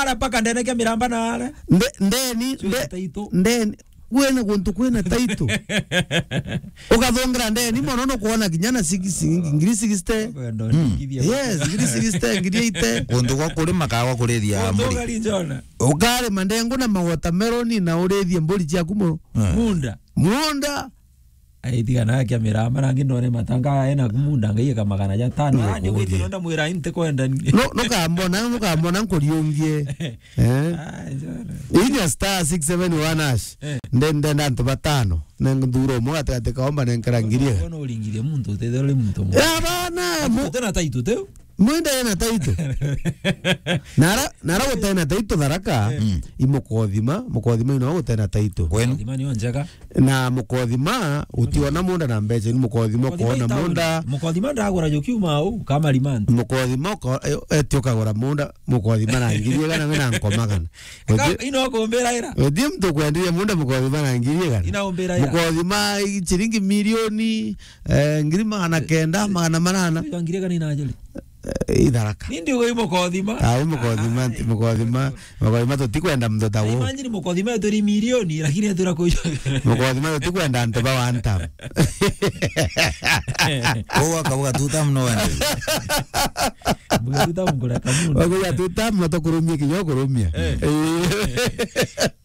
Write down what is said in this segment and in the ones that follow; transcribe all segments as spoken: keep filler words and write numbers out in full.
Ara mpaka ndene kia miramba na ara. Nde-, ndeni, Cwina nde-, taito. Ndeni. Kwina guntu kwina taito. Ukathongera ndeni mono, nukwona kinya na six, ngiri sixty. Kwenda ndikithia. Yes, ngiri sixty, ngiri eighty. Kuntu gwa kurima ka gwa kurithia mburi. Ugari njona. Ukarima ndengu na mawatermelon na urithie mburi ciaku mu-, Eh. Munda. Munda. Aitiga na kia miramba, nangi ndone matanga ena kumunda, ngai eka magana ja tano. Nikuurie. Ah, ndio kitu nonda mwira inte kwenda ni. No, nukambona, nukambona nkuriungie. Eh? Ah, njona. Inya star six seven one hash. Eh. Nde-, ndenda antu batano. Na nthura umwe gatigati kaomba nenkera ngiri. Bona uringirie muntu, utethera uri muntu mwe. Ya bana, mu- Tena taitu teu. Mwenda ena taito. Nara, nara gutena taito Tharaka, Eh. Mm. I Mukothima, Mukothima ino gutena taito. Kwenu? Mukothima niyo njega. Na Mukothima, utiona munda na mbeca, ni Mukothima Mukothima ukona itauni. Munda. Mukothima ndagura jo kiuma au, kama rimandi. Mukothima uko-, e-, eti ukagura munda, Mukothima na ngiri igana we na nkomagana. Ka-, Uti-, ino kumbira ira. Uti mtu kwendia munda Mukothima na ngiri igana. Ina umbira ira. Mukothima i-, ciringi milioni, eh, ngiri magana kenda, magana manana. Iga ngiri igana ina ajali. Eh, i Tharaka. Nindi ugo i Mukothima. Ah, i Mukothima, ah, nti Mukothima. Mukothima tutikwenda mtoto wo. Imagine Mukothima turi milioni, lakini atura kujo. Mukothima tutikwenda antu ba one term. Uwa kabuga two term no wende. Buga two term kule kamundu. Wakuga two term no tukurumia kinya kurumia. Eh. Eh.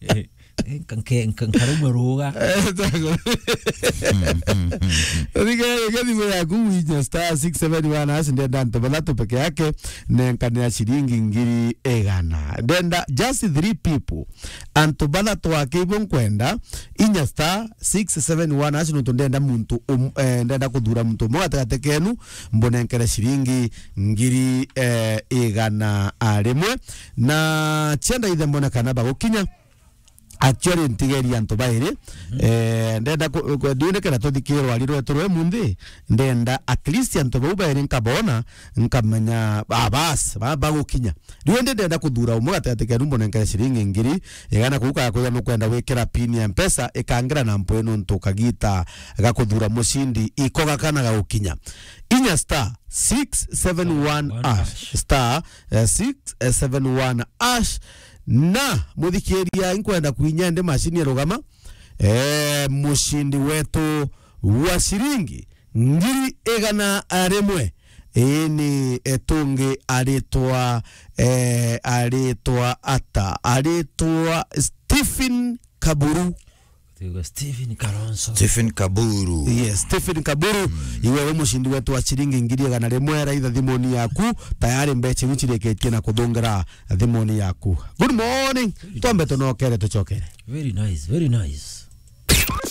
Eh. Eh, nka-, nke-, nka-, nkarumwa ruga. Thikira thimu yaku winya star six seven one hash, ndenda antu bathatu peke yake, nenkanira ciringi ngiri igana. Ndenda just three people. Antu bathatu ake ibo nkwenda, inya star six seven one hash, nontu ndenda muntu um-, eh, ndenda kuthura muntu umwe gatigati kenu, mbunenkere ciringi ngiri, eh, igana rimwe. Na cienda ithe mbone kana bagukinya. Actually, ntigeria antu bairi. Mhm. Eh, ndenda ku-, ku-, ndiunekera tuthikirwa ari rwetu rwe munthi. Ndenda at least antu bau bairi nkabona, nkamenya, ah, bas, ba-, bagukinya. Riu ndi ndenda kuthura umwe gatigati kenu mbunenkere ciringi ngiri igana kuu kaya kwithira nukwenda gwikira pin ya Mpesa, ikangira na mpu ino ntu kagita ga kuthura mucindi iko gakana gagukinya. Inya star six seven one hash. Star, eh, six seven one hash. Na, muthikiria, inkwenda kwinya ndi macini ya rugama. Eh, mucindi wetu wa ciringi ngiri igana rimwe. Ii ni etungi aritwa, eh, aritwa ata? Aritwa Stephen Kaburu. Tuigwe Stephen Kalonzo. Stephen Kaburu. Yes, Stephen Kaburu. Mm. Iwe we mucindi wetu wa ciringi ngiri igana rimwe, raitha thimuni yaku, tayari mbeca iu cirikitie na kuthungira thimuni yaku. Good morning. Very nice. Twambe tunokere, tucokere. Very nice, very nice.